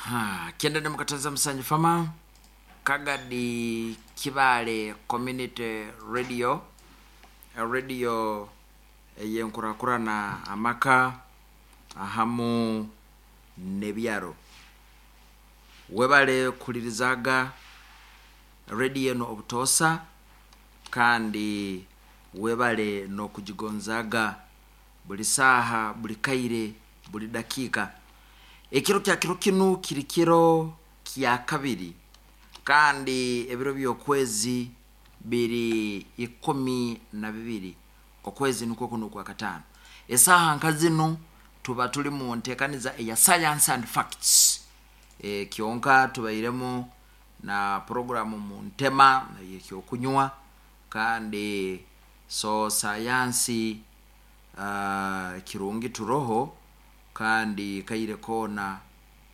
Ha, 97 fama Kagadi Kibaale Community Radio, radio ey'enkurakurana amaka ahamu n'ebyaro. Webale kuhulirizaga rediyo enu obutoosa, kandi webale n'okugigonzaaga buli saaha, buli kaire, buli dakiika. Ekiro kya kiro kinu kiri kiro kya kabiri, kandi ebiro by'okwezi biri 12, okwezi nukwo kunu okwa kataano. Esaaha nka zinu tuba tuli mu nteekaniza eya Science and Facts. Kyonka tubairemu na puroguramu mu ntema ey'ekyokunywa, kandi so sayansi kirungi turoho, kandi kaire koona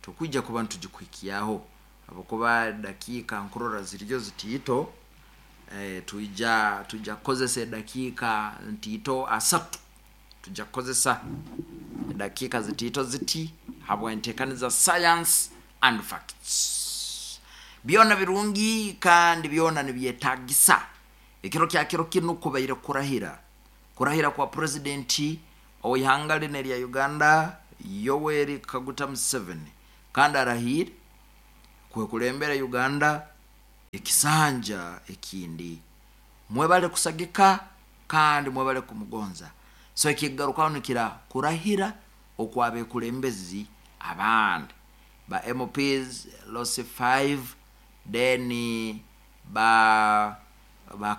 tukwija kuba nitugikuhikyaho habwokuba dakiika nkurora ziriyo zitiito. Twija kukozesa edakiika ntiito asatu, twija kukozesa edakiika zitiito ziti habw'enteekaniza Science and Facts. Byona birungi kandi byona nibyetaagisa. Ekiro kya kiro kinu kubaire kurahira, kurahira kwa purezidenti ow'ihanga linu erya Uganda Yoweri Kaguta Museveni, kandi arahiire kwekulembera Uganda ekisanja ekindi. Mwebale kusagika kandi mwebale kumugonza. So ekigarukaho nikira kurahira okw'abekulembezi abandi ba MPs Losi 5, then ba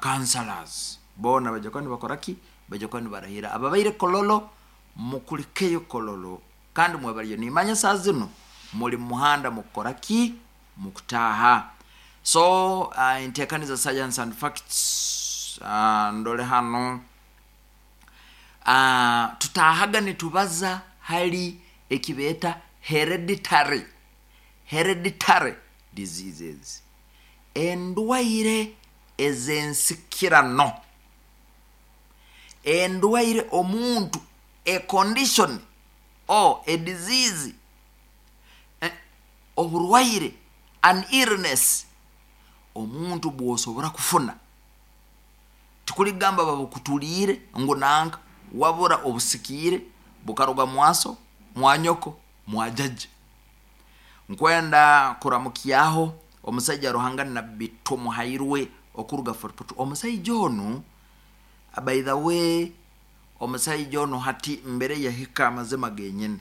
councillors boona baija kuba nibakora ki? Baija kuba nibarahira. Ababaire Kololo mukulikeyo Kololo, kandi mwebaliyo. Nimanya saa zinu muli mu muhanda mukukora ki? Mukutaaha. So enteekaniza Science and Facts, ndole hanu, tutaahaga nitubaza hali ekibeeta hereditary diseases, endwaire ez'ensikirano, endwaire omuntu, a condition or a disease, oburwaire, an illness, omuntu bw'osobora kufuna. Tikuli kugamba babukutuliire ngu nanka, wabura obusikiire bukaruga mwaso, mwanyoko, mwajaja. Nkwenda kuramukyaho omusaija Ruhanga Nabbi Tumuhairwe okuruga Fort Portal. Omusaija onu, by the way, omusaija onu hati mbere yahika amazima genyini.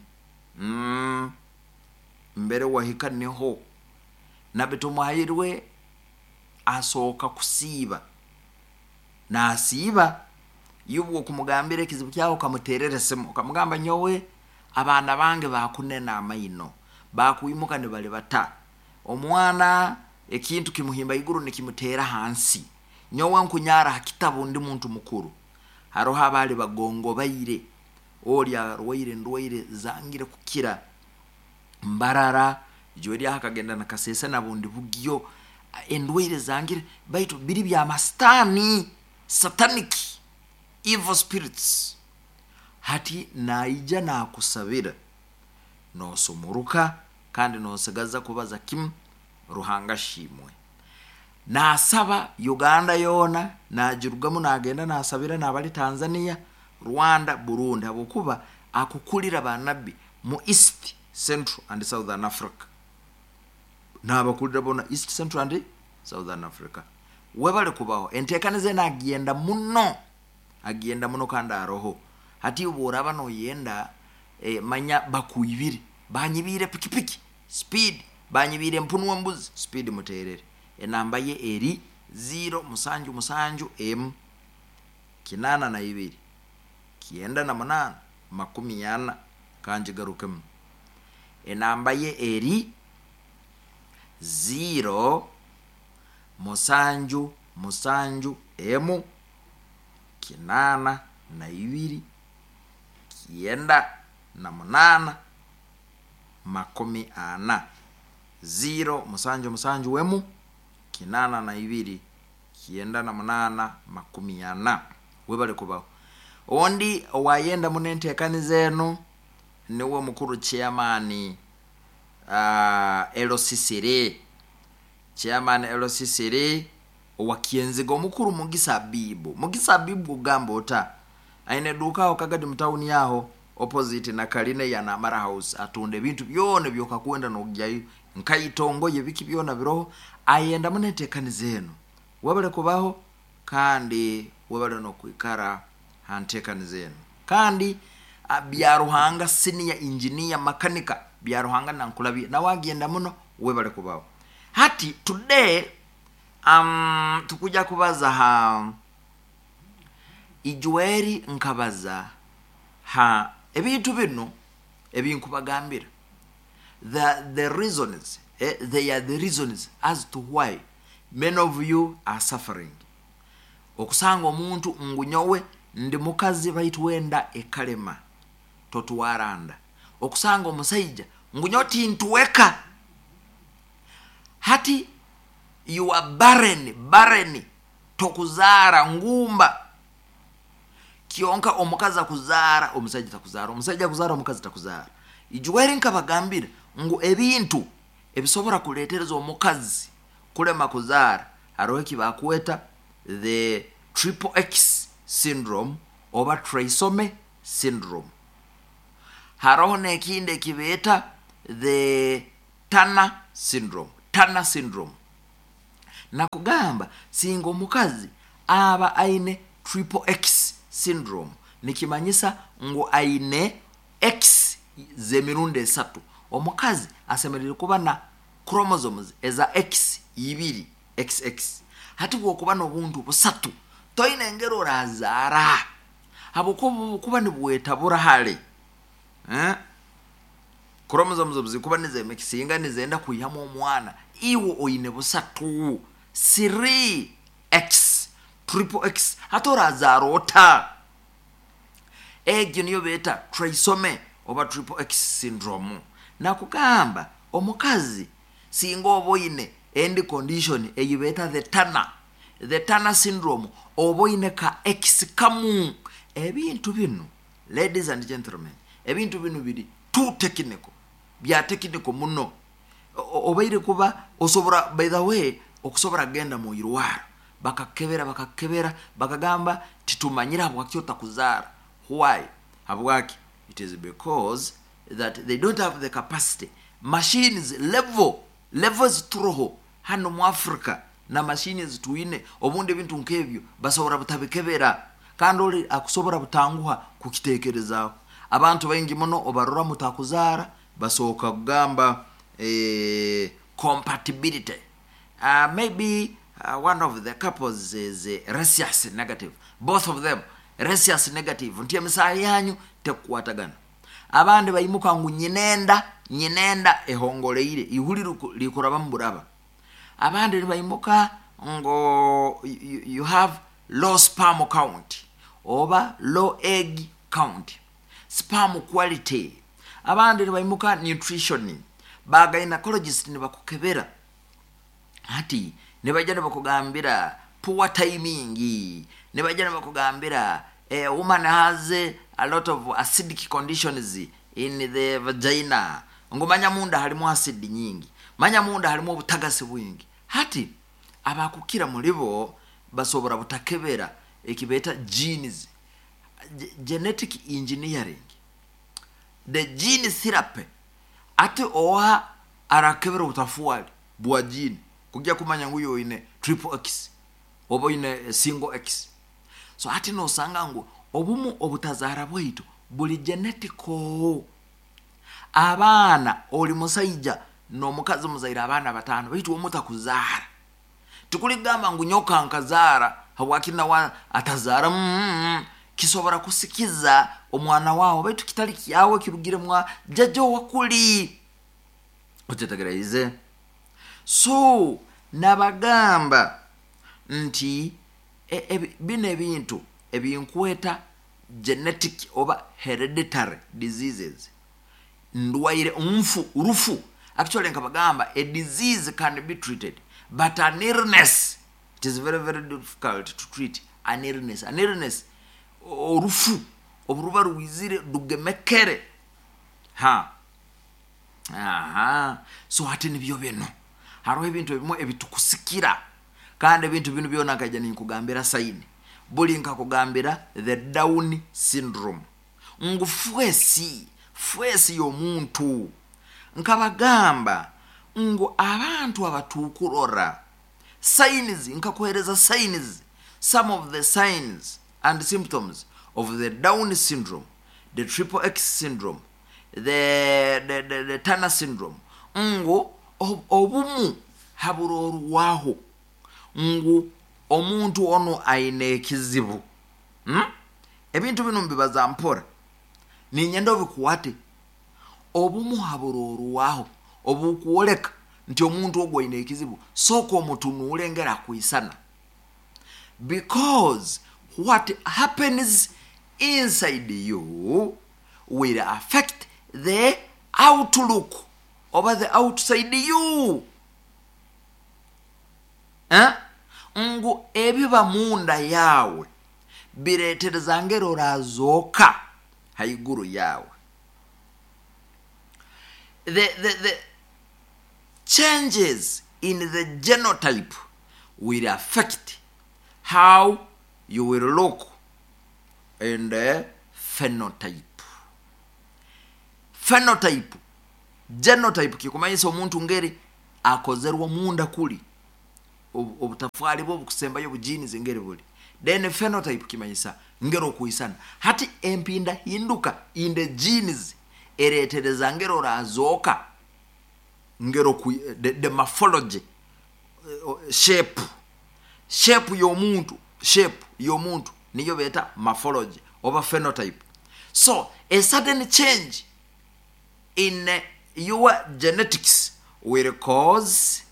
Mbere wahika niho Nabbi Tumuhairwe asooka kusiiba. Naasiiba, iwe okumugambira ekizibu kyawe okamuteerera esimu, okamugamba nyowe abaana bange baakunena amaino, baakwimuka nibalibata, omwana ekintu kimuhimba iguru nikimuteera hansi, nyowe nkunyara ha kitabu ndi muntu mukuru. Haroho abaali bagongobaire, oli arwaire endwaire zangire kukira, Mbarara, ijwe eryaho akagenda na Kasese na bundi bugyo, endwaire zangire, baitu biri bya masitaani, satanic evil spirits. Hati naija nakusabira, nosumuruka kandi nosigaza kubaza kimu, Ruhanga ashimwe. Nasaba Uganda yoona, nagirugamu nagenda nasabira nabali Tanzania, Rwanda, Burundi, habwokuba akukulira banabbi mu East, Central and Southern Africa. Nabakulira boona East, Central and Southern Africa. Webale kubaho. Enteekaniza enu agenda muno, agenda muno kandi aroho. Hati obu oraaba noyenda, manya bakwibire, banyibiire pikipiki, speed, banyibiire empunu embuzi, speed muteerere. Enamba ye eri 0 musanju musanju emu 82 98 40. Kangigarukemu. Enamba ye eri 0 musanju musanju emu 82 98 40. 0 musanju musanju emu 82 98 40. Webale kubaho. Ondi owayenda muno enteekaniza enu niwe mukuru chairman. LCCR, chairman LCCR owa Kyenziga omukuru Mugisa Abibu. Mugisa Abibu ogamba ota aine eduuka aho Kagadi mu tawuni aho opposite na Kaline ya Namara House, atunda ebintu byona ebyokakwenda nogyayo nkaito, ngoye, biki byona biroho. Ayenda muno enteekaniza eno, webale kubaho kandi webale n'okwikara ha nteekaniza eno. Kandi Byaruhanga senior engineer makanika Byaruhanga nankulabye nawe agenda muno, webale kubaho. Hati today tukuja kubaza ha ijweri, nkabaza ha ebintu binu ebinkubagambira, the reasons, they are the reasons as to why many of you are suffering. Okusanga omuntu ngu nyowe ndi mukazi baitu wenda ekalema totwara nda, okusanga omusaija ngu nyowe tintweka, hati you are barren, barren tokuzaara ngumba. Kyonka omukazi akuzaara omusaija takuzaara, omusaija akuzaara omukazi takuzaara. Ijweri nkabagambira ngu ebintu ebisobora kuleetereza omukazi kulema kuzaara, haroho eki bakweta the triple X syndrome oba trisomy syndrome, haroho n'ekindi ekibeeta the Turner syndrome, Turner syndrome. Nakugamba singa omukazi aba aine triple X syndrome, nikimanyisa ngu aine X z'emirundi esatu. Omukazi asemeriire kuba na chromosomes eza X ibiri, XX. Hati bwokuba n'obuntu busatu toine engeri orazaara, habwokuba obukuba nibwetabura hare, chromosomes obuzikuba nizemikisinga nizenda kwihamu omwana, iwe oine busatu, 3X, triple X, hati orazaara ota? Egyo niyo beeta trisomy oba triple X syndrome. Nakugamba omukazi singa oba oine endi condition eyi beeta the Turner, the Turner syndrome, oba oine ka X kamu. Ebintu binu, ladies and gentlemen, ebintu binu biri too technical, bya technical muno. Obaire kuba osobora, by the way, okusobora kugenda mu irwaro bakakebera, bakakebera bakagamba titumanyire habwaki otakuzaara. Why? Habwaki? It is because that they don't have the capacity, machines level levels turoho hano mu Africa na mashini ezitwine, obundi ebintu nk'ebyo basobora butabikebera, kandi oli akusobora butanguha kukitekerezaaho. Abantu baingi muno obarora mutakuzaara basooka kugamba compatibility, maybe one of the couples is rhesus negative, both of them rhesus negative, nti emisaha yanyu tekukwatagana. Abandi baimuka ngu nyinenda, nyinenda ehongoleire ihuli likuraba mu buraba. Abandi nibaimuka ngo you have low sperm count oba low egg count, sperm quality. Abandi nibaimuka nutrition, ba gynecologist nibakukebera, hati nibaija nibakugambira poor timing, nibaija nibakugambira a woman has a lot of acidic conditions in the vagina, ngu manya munda halimu acid nyingi, manya munda halimu obutagasi bwingi. Hati abakukira mulibo basobora butakebera ekibeeta genes, genetic engineering, the gene therapy. Ate oha arakebera obutafuali bwa gene kujja kumanya ngu oine triple X oba oine single X. So hati nosanga ngu obumu obutazaara bwaitu buli genetical. Abaana, oli musaija n'omukazi muzaire abaana batano, baitu omutakuzaara tikuligamba ngu nyoka nkazaara habwaki nawe atazaara. Kisobora kusikiza omwana wawe baitu kitali kyawe, kirugire mwa jjajja owakuli okyetegereize. So nabagamba nti bino ebintu ebinkweta genetic oba hereditary diseases, ndwaire nfu rufu. Actually nkabagamba a disease can be treated, but an illness, it is very very difficult to treat an illness. An illness, orufu oburuba rwizire rugemekere ha. Aha, so hati nibyo bino, haroho ebintu ebimu ebitukusikira, kandi ebintu binu byona nkaija ninkugambira sign. Buli nkakugambira the Down syndrome, ngu face y'omuntu. Nkabagamba ngu abantu abatukurora signs, nkakuhereza signs, some of the signs and symptoms of the Down syndrome, the Triple X syndrome, the Turner syndrome, ngu obumu haburorwaho ngu omuntu ono aine ekizibu. Ebintu bino mbibaza mpora, ninyenda obikwate. Obumu haburorwaho obukwoleka nti omuntu ogwo aine ekizibu, sooka omutunuule engeri akwisana, because what happens inside you will affect the outlook oba the outside you. Eh? Ngu ebiba munda yawe biretereza ngeri orazoka haiguru yawe. The changes in the genotype will affect how you will look in the phenotype. Phenotype, genotype kikumanyisa omuntu ngeri akozerwa munda kuli, obutafali bwo bukusembayo bujini ngeri buli. Then phenotype kimanyisa ngeri okuisana. Hati empinda hinduka in the genes eretereza ngeri orazoka, ngero ku, the morphology, shape y'omuntu, shape y'omuntu niyo beta morphology oba phenotype. So a sudden change in your genetics will cause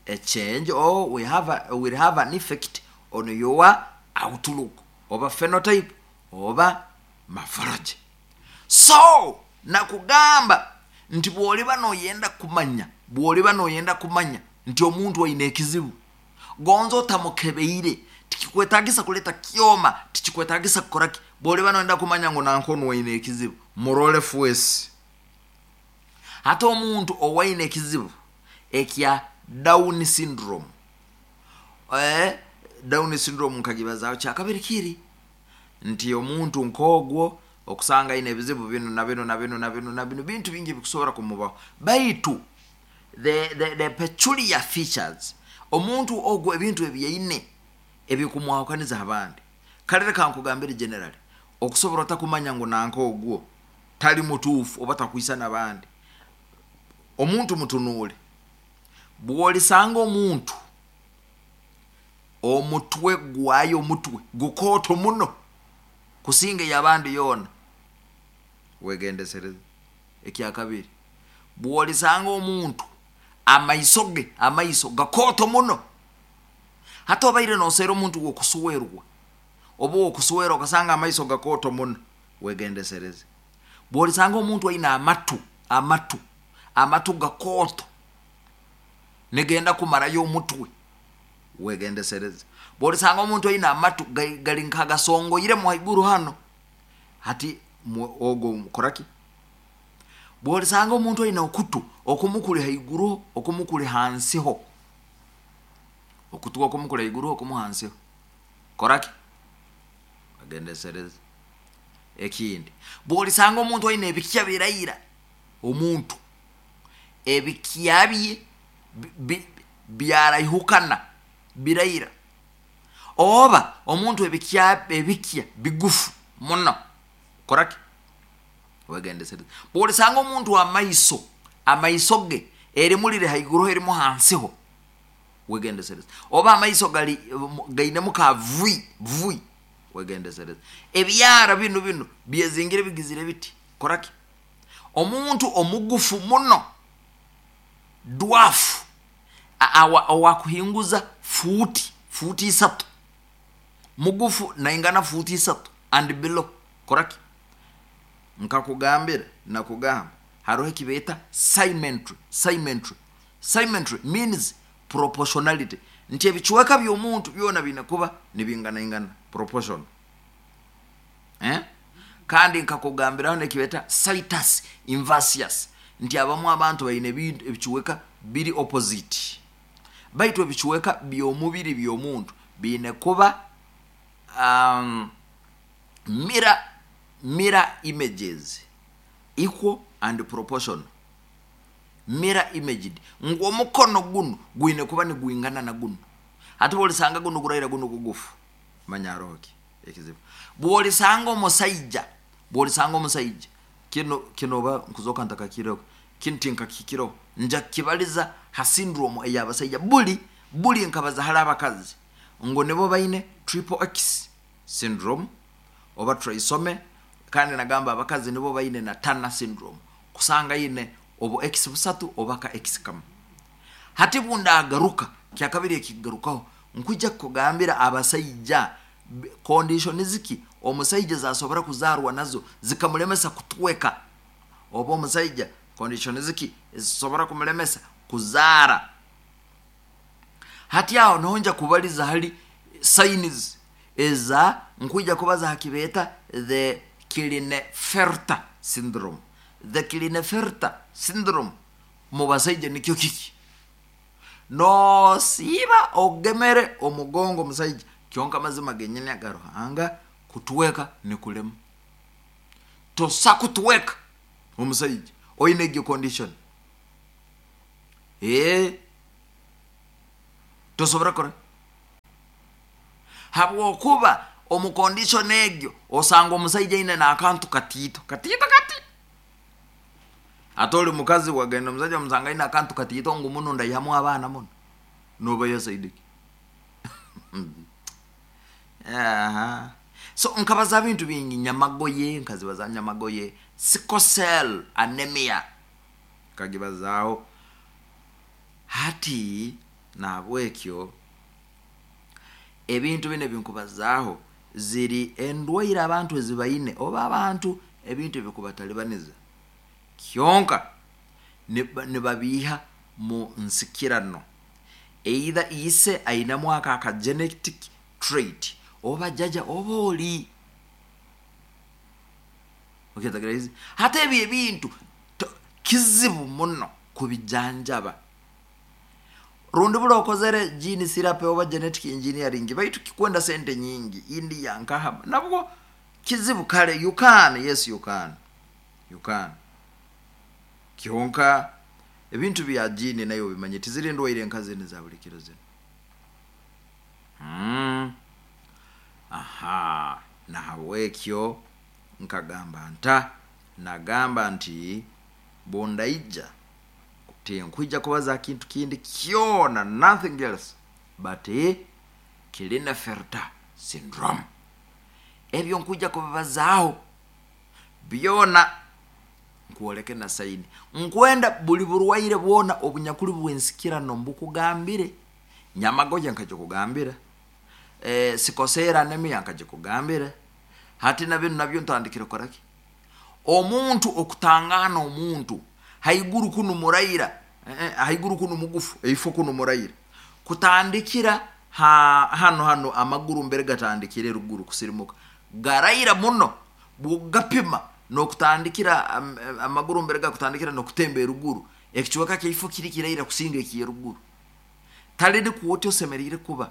a change, or will have an effect on your outlook oba phenotype oba morphology. So nakugamba nti bw'oliba noyenda kumanya, bw'oliba noyenda kumanya nti omuntu aine ekizibu, gonza otamukebeire, tikikwetagisa kuleta kyoma, tikikwetagisa kukoraki. Bw'oliba noyenda kumanya ngu nankono aine ekizibu, murole face. Hata omuntu owaine ekizibu ekya Down syndrome, Down syndrome nkagibazaho kyakabiri kiri nti omuntu nkogwo okusanga aine ebizibu bino na bino na bino na bino na bino, bintu bingi bikusobora kumubaho. Baitu the peculiar features omuntu ogwo, ebintu ebyaine ebikumwahukaniza abandi. Kale reka nkugambire generally, okusobora otakumanya ngu nanka ogwo tali mutuufu oba takwisa n'abandi, omuntu mutunuule. Bw'olisanga omuntu omutwe gwayo, omutwe gukooto muno kusinga ey'abandi yoona, wegendesereze. Ekyakabiri, bw'olisanga omuntu amaiso ge, amaiso gakooto muno, hata obaire noseera omuntu wokuswerwa oba wokuswera okasanga amaiso gakooto muno, wegendesereze. Bw'olisanga omuntu aine amatu, amatu, amatu gakooto negenda kumarayo omutwe, wegendesereze. Bw'olisanga omuntu aine amatu gali nkagasongoiremu haiguru hano, hati ogwo mukoraki. Bw'olisanga omuntu aine okutu okumukuli haiguru okumukuli hansiho, okutu okumukuli haiguru okumu hansiho, koraki, wegendesereze. Ekindi, bw'olisanga omuntu aine ebikya biraira, omuntu ebikya bye byaraihukana biraira, oba omuntu ebikya bigufu muno, koraki, wegendesereze. Bw'olisanga omuntu amaiso, amaiso ge erimu liri haiguru erimu hansiho, wegendesereze. Oba amaiso gali gainemu ka vui vui, wegendesereze. Ebyara bino bino byezingire bigizire biti, koraki. Omuntu omugufu muno, dwafu, owakuhinguza futi, futi 3, mugufu naingana futi 3 and below, koraki. Nkakugambira, nakugamba haroho ekibeeta symmetry. Symmetry, symmetry means proportionality, nti ebicweka by'omuntu byona biine kuba nibinganaingana, proportion. Kandi nkakugambiraho nekibeeta situs inversus. Nti abamu abantu baine ebintu ebicweka biri opposite, baitu ebicweka by'omubiri by'omuntu biine kuba mirror images, equal and proportional, mirror imaged, ngu omukono gunu gwine kuba nigwingana na gunu. Hati bwolisanga gunu guraira, gunu gugufu, manya haroho ki ekizibu. Bwolisanga omusaija, bwolisanga omusaija kino oba nkuzoka ntakakireho kinu, tinkakikireho, nja kukibaliza ha syndrome ey'abasaija. Buli nkabaza hali abakazi ngu nibo baine triple X syndrome oba trisomy, kandi nagamba abakazi nibo baine na Turner syndrome, kusanga aine obu X busatu oba ka X kamu. Hati bundagaruka kyakabiri ekikugarukaho, nkwija kukugambira abasaija condition ziki omusaija zasobora kuzarwa nazo zikamulemesa kutweka, oba omusaija condition ziki ezisobora kumulemesa kuzaara. Hati aho niho nja kubaliza hali signs eza, nkwija kubaza ha kibeeta the Klinefelter syndrome. The Klinefelter syndrome mu basaija nikyo kiki? Noosiiba ogemere omugongo omusaija, kyonka amazima genyini aga Ruhanga, kutweka nikulema. Tosa kutweka omusaija oine egyo condition, tosobora kukora, habwokuba omu condition egyo osanga omusaija aine n'akantu katiito katiito kati. Ate oli mukazi wagenda omusaija omusanga aine akantu katiito ngu muno ndaihamu abaana muno, noba yasaidiki. Aha. So nkabaza bintu bingi, nyamagoye nkazibaza, nyamagoye, sickle cell anemia nkagibazaaho. Hati nahabwekyo ebintu binu ebinkubazaaho ziri endwaire abantu ezibaine, oba abantu ebintu ebikubatalibaniza, kyonka nibabiiha mu nsikirano, either ise ainemu ako aka genetic trait, oba jaja, oba oli okyetegereze. Hati ebyo ebintu kizibu muno kubijanjaba, rundi buli okozere gene therapy oba genetic engineering, baitu kikwenda sente nyingi. India nkaha nabwo kizibu. Kale you can, yes, you can, you can, kyonka ebintu bya gene nayo bimanye tiziri ndwaire enkazi za buli kiro zino. Aha, nahabwekyo nkagamba nta, nagamba nti bundaija tinkwija kubaza kintu kindi kyona, nothing else but Klinefelter syndrome. Ebyo nkwija kubibazaaho byona, nkwoleke na sign. Nkwenda buli burwaire bwona obunyakuli bwensikirano mbukugambire. Nyamagoye nkagikugambira, sickle cell anemia nkagikugambira. Hati na binu nabyo ntandikire kukoraki? Omuntu okutangana, omuntu haiguru kunu muraira, haiguru kunu mugufu, eifo kunu muraira, kutandikira ha hano amaguru mbere gatandikire ruguru kusirimuka garaira muno. Bwogapima nokutandikira amaguru mbere gakutandikira nokutemba eruguru, ekicweka kyaifo kiri kiraira kusinga ekyeruguru. Tali kwoti osemeriire kuba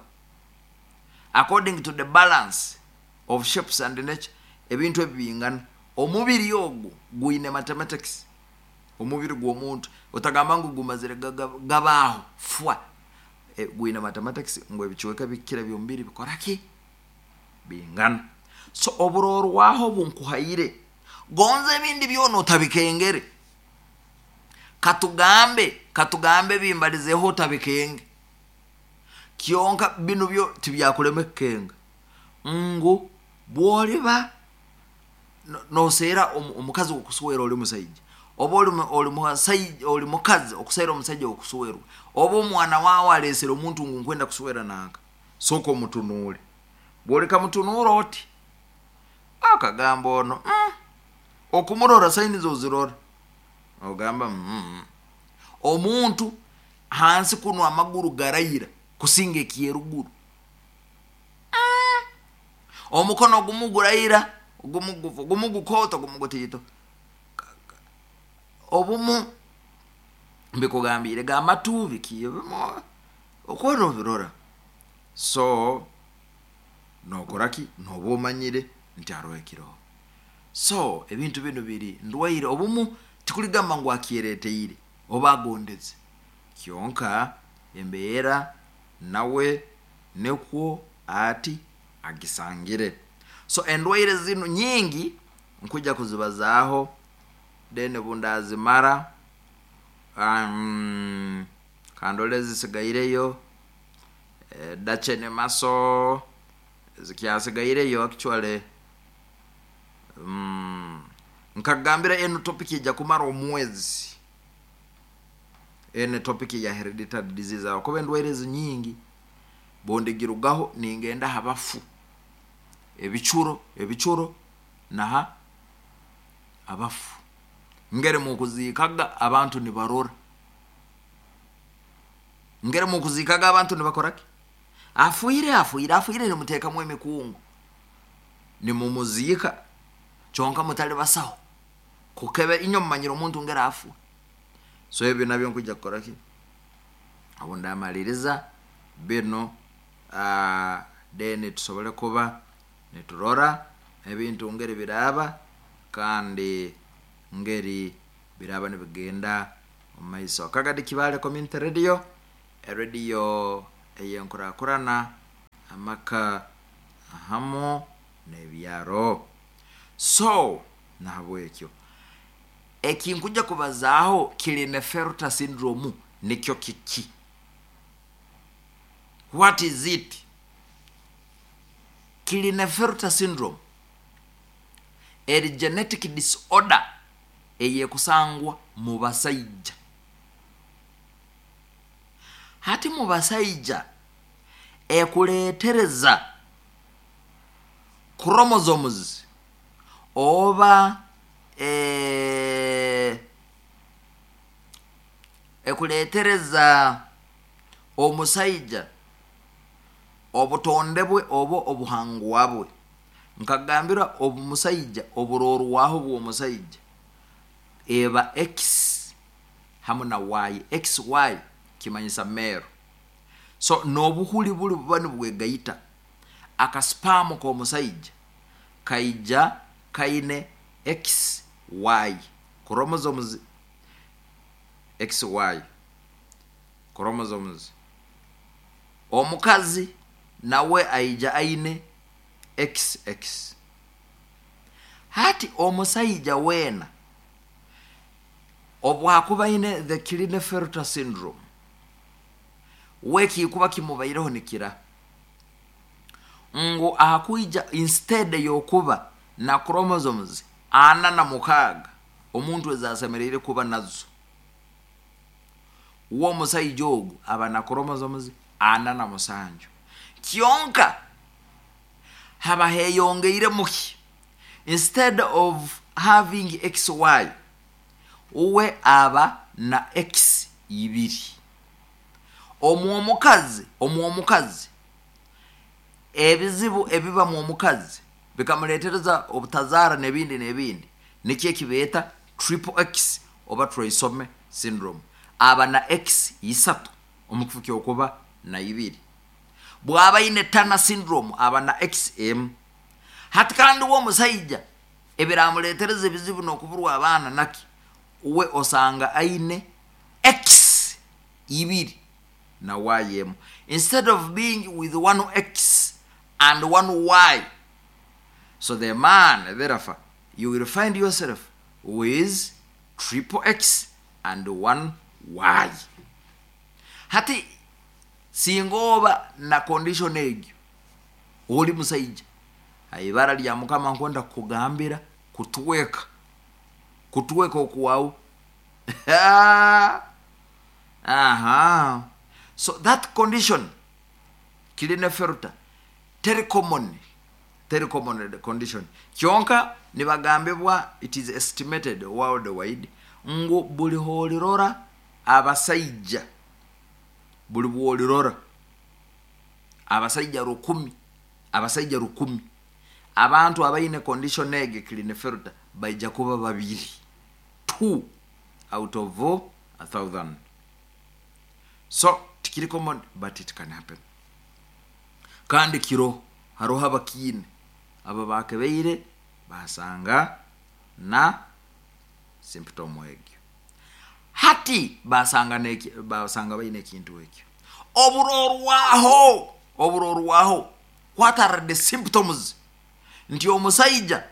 according to the balance of shapes and nature. Ebintu ebi bingana. Omubiri ogu gwine mathematics. Omubiri gw'omuntu otagamba ngu gumazire gabaaho fwa, gwine mathematics ngu ebicweka bikira by'omubiri bikoraki? Bingana. So oburorwaho bunkuhaire, gonza ebindi byona otabikengere. Katugambe bimbalizeho otabikenge, kyonka binu byo tibyakulema kukenga ngu bwoliba noseera omukazi wokuswera oli musaija, oba oli mukazi okuseera omusaija wokuswerwa, oba omwana wawe alesere omuntu ngu nkwenda kuswera nanka, sooka omutunuule. Bwoleka mutunuura oti akagamba ono, okumurora signs ozirora, ogamba omuntu hansi kuno amaguru garaira kusinga ekyeruguru, omukono ogumu guraira, ogumu gufu, ogumu gukoto, ogumu gutiito. Obumu mbikugambire gamatu biki ebimu okuba nobirora, so nokora ki? Noba omanyire nti haroho ekiroho. So ebintu binu biri ndwaire, obumu tikuligamba ngu akyereteire oba agondeze, kyonka embeera nawe nikwo ati agisangire. So endwaire zinu nyingi nkwija kuzibazaaho, then obundazimara kandole ezisigaireyo, Duchenne muscle zikyasigaireyo. Actually, nkagambira enu topic ejya kumara omwezi, enu topic ya hereditary disease, habwokuba endwaire ezi nyingi. Bundigirugaho ningenda ha bafu, ebicuro, ebicuro naha abafu, ngeri mukuziikaga abantu nibarora, ngeri mukuziikaga abantu nibakora ki? Afiire, afiire, afiire, nimuteekamu emikungu nimumuziika, kyonka mutali basaho kukebe, inywe mumanyire omuntu ngeri afwa. So ebyo nabyo nkwija kukora ki obu ndamaliriza binu, then tusobole kuba niturora ebintu ngeri biraaba kandi ngeri biraaba nibigenda omu maiso. Kagadi Kibaale Community Radio, erediyo ey'enkurakurana, amaka hamu n'ebyaro. So nahabwekyo ekinkujja kubazaaho, Klinefelter syndrome nikyo kiki? What is it? Klinefelter syndrome eri genetic disorder eyekusangwa mu basaija. Hati mu basaija ekuleetereza chromosomes oba ekuleetereza omusaija obutonde bwe oba obuhangwa bwe. Nkagambira omusaija oburorwaho bw'omusaija eba X hamu na Y. XY kimanyisa male. So n'obuhuli buli buba nibwegaita, akasperm k'omusaija kaija kaine XY chromosomes, XY chromosomes. Omukazi nawe aija aine XX. Hati omusaija weena obwakuba aine the Klinefelter syndrome, we kikuba kimubaireho nikira ngu akwija instead y'okuba na chromosomes 46 omuntu ezasemeriire kuba nazo, we omusaija ogu aba na chromosomes 47. Kyonka haba heyongeiremu ki? Instead of having XY, uwe aba na X ibiri. Omu omukazi ebizibu ebiba mu omukazi bikamuleetereza obutazaara n'ebindi n'ebindi, nikyo ekibeeta triple X oba trisomy syndrome. Aba na X isatu omu kifo ky'okuba na ibiri. Bw'aba aine Turner syndrome, aba na X emu. Hati kandi we omusaija ebiramuleetereza ebizibu n'okuburwa abaana naki, we osanga aine X ibiri na Y emu. Instead of being with one X and one Y, so the man, therefore, you will find yourself with triple X and one Y. Hati singa oba na condition egyo, oli musaija, ibara lya Mukama nkwenda kukugambira kutweka, kutweka okwawe. Aha, so that condition, Klinefelter, teri common, teri common condition. Kyonka nibagambibwa, it is estimated worldwide ngu buli holirora abasaija, buli bwolirora abasaija 1000, abasaija 1000, abantu abaine condition egi, Klinefelter, baija kuba babiri, 2. out of 1000. So tikiri common, but it can happen. Kandi kiro haroho abakiine abo bakebeire basanga na symptom egyo, hati basanga basanga baine ekintu ekyo. Oburorwaho, what are the symptoms nti omusaija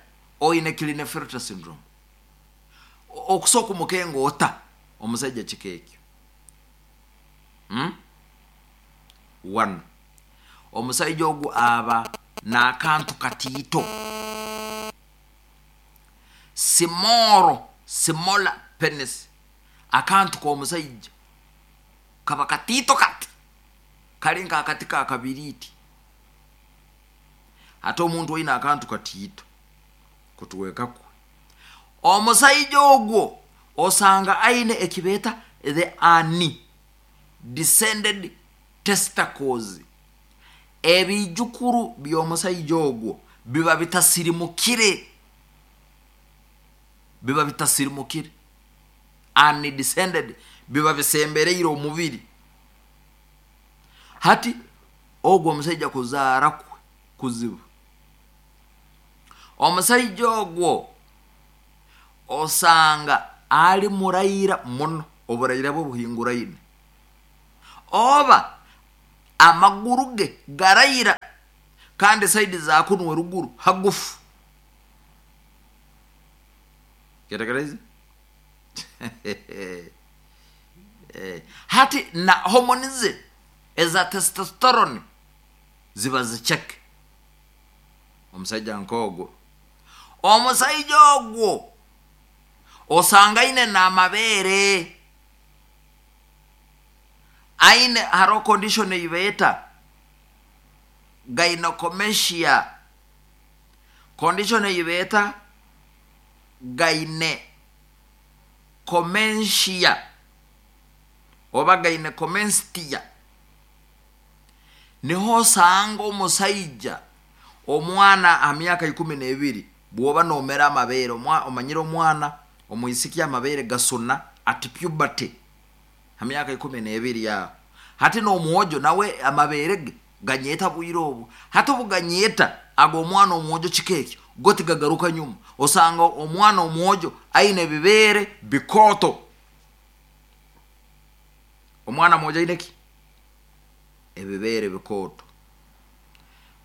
oine Klinefelter syndrome? Okusooka omukenga ota omusaija kika ekyo? One, omusaija ogu aba n'akantu katiito, small, smaller penis. Akantu k'omusaija kaba katiito kati, kali nk'akati ka kabiriiti. Ate omuntu oine akantu katiito kutweka kwe, omusaija ogwo osanga aine ekibeeta the undescended testicles. Ebijukuru by'omusaija ogwo biba bitasirimukire, biba bitasirimukire, undescended, biba bisembereire omubiri. Hati ogwo omusaija kuzaara kwe kuzibu. Omusaija ogwo osanga ali muraira muno, oburaira bwe buhinguraine, oba amaguru ge garaira, kandi side za kunu eruguru hagufu. Kyetegereze. Hati na hormone ze eza testosterone ziba zicheke. Omusaija nk'ogwo, omusaija ogwo osanga aine n'amabeere aine, haroho condition eibeeta gynecomastia, condition eibeeta gynecomastia oba gynecomastia. Niho osanga omusaija omwana ha myaka 12 bwoba nomera amabeere, omanyire omwana omwisiki amabeere gasuna at puberty ha myaka 12 aho. Hati n'omwojo nawe amabeere ge ganyeta bwire obu. Hati obuganyeta ago omwana omwojo kika ekyo go tigagaruka nyuma, osanga omwana omwojo aine ebibeere bikooto. Omwana mwojo aine ki? Ebibeere bikooto.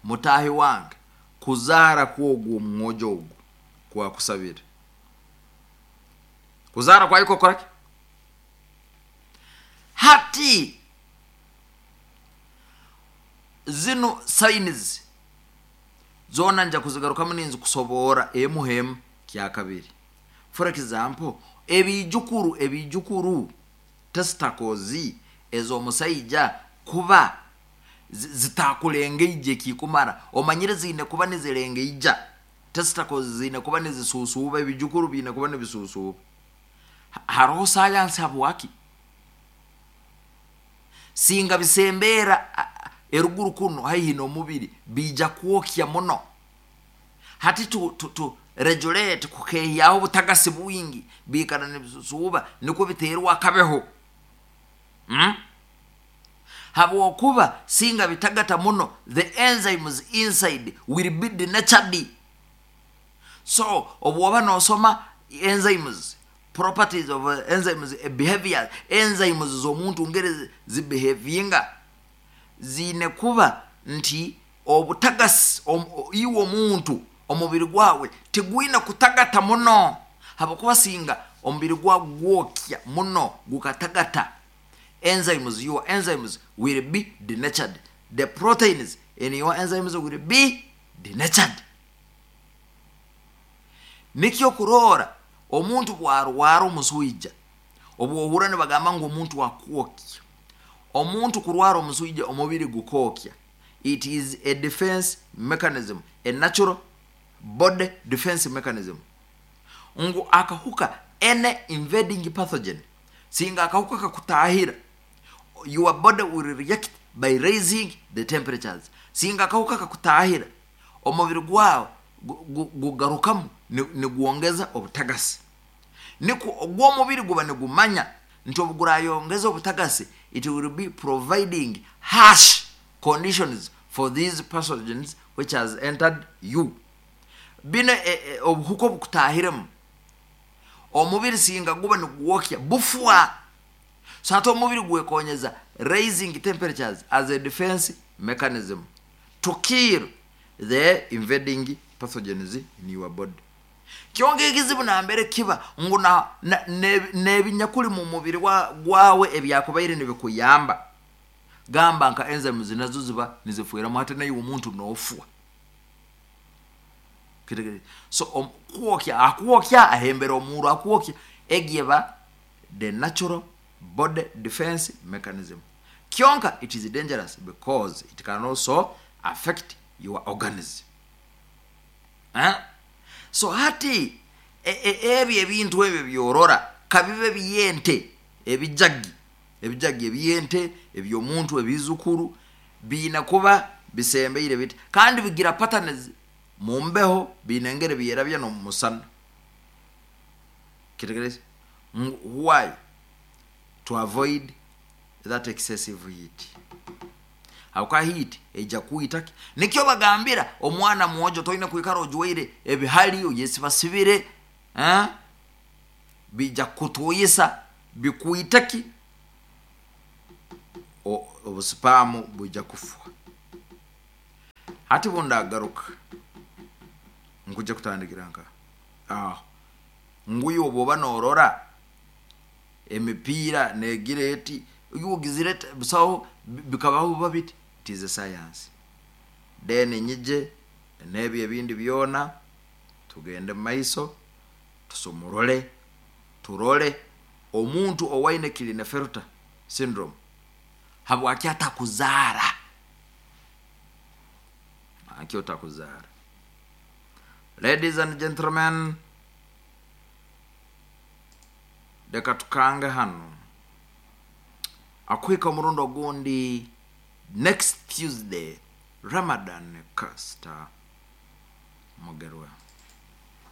Mutahi wange, kuzaara kwogwo omwojo ogwo kwakusabire kuzaara kwayo kokoraki? Hati zinu signs zoona nja kuzigarukamu ninzikusoboora emu hemu kyakabiri. For example, ebijukuru testicles ez'omusaija kuba zitakulengeija ekikumara. Omanyire ziine kuba nizirengeija, testicles ziine kuba nizisusuuba, ebijukuru biine kuba nibisusuuba. Haroho sayansi habwaki singa bisembeera eruguru kunu haihi n'omubiri biija kwokya muno. Hati tu regulate kukehyaho obutagasi bwingi, biikara nibisusuuba nikwo biterwa akabeho. Habwokuba singa bitagata muno, the enzymes inside will be denatured. So obwoba nosoma enzymes, properties of enzymes, behavior enzymes z'omuntu ngeri zibehavinga, ziine kuba nti obutagasi iwe omuntu omubiri gwawe tigwine kutagata muno, habwokuba singa omubiri gwawe gwokya muno gukatagata, enzymes, your enzymes will be denatured, the proteins in your enzymes will be denatured. Nikyo kuroora omuntu bwarwara omuswija, obwohura nibagamba ngu omuntu akwokya. Omuntu kurwara omuswija, omubiri gukokya, it is a defense mechanism, a natural body defense mechanism, ngu akahuka, any invading pathogen, singa akahuka kakutahira, your body will react by raising the temperatures. Singa akahuka kakutahira, omubiri gwawe gugarukamu nigwongeza obutagasi. Nikwo ogw'omubiri guba nigumanya nti obu gurayongeza obutagasi, it will be providing harsh conditions for these pathogens which has entered you. Bino obuhuka obukutahiremu omubiri singa guba nigwokya bufwa. So hati omubiri gwekonyeza raising temperatures as a defense mechanism to kill the invading pathogens in your body. Kyonka ekizibu nambere kiba ngu n'ebinyakuli mu mubiri gwawe ebyakubaire nibikuyamba, gamba nka enzymes nazo ziba nizifweramu, hati naiwe omuntu nofwa. So kwokya akwokya ahembera omurro akwokya, egi eba the natural body defense mechanism. Kyonka it is dangerous because it can also affect your organs. Eh? So hati ebyo ebintu ebyo byorora kabibe byente, ebijagi ebijagi ebyente, eby'omuntu, ebizukuru biina kuba bisembeire biti, kandi bigira patterns mu mbeho, biina engeri byerabya n'omu musana. Kitegereza why? To avoid that excessive heat. Habwokuba heat ejja kwita ki? Nikyo bagambira omwana mwojo toine kwikara ojwaire ebihali oyesibasibire, eh? Bijja kukutuyisa bikwita ki? Obusipamu bwijja kufwa. Hati bundagaruka nkujja kutandikira nka aho nguyu obwoba norora emipiira negira eti yugizire busaho bikabaho buba biti, it is a science. Then nyije n'ebyo ebindi byona tugende mu maiso tusumurole turole omuntu owaine Klinefelter syndrome habwaki atakuzaara, aki otakuzaara. Ladies and gentlemen, leka tukange hano akuhika omurundi ogundi next Tuesday. Ramadan Kasta Mugerwa.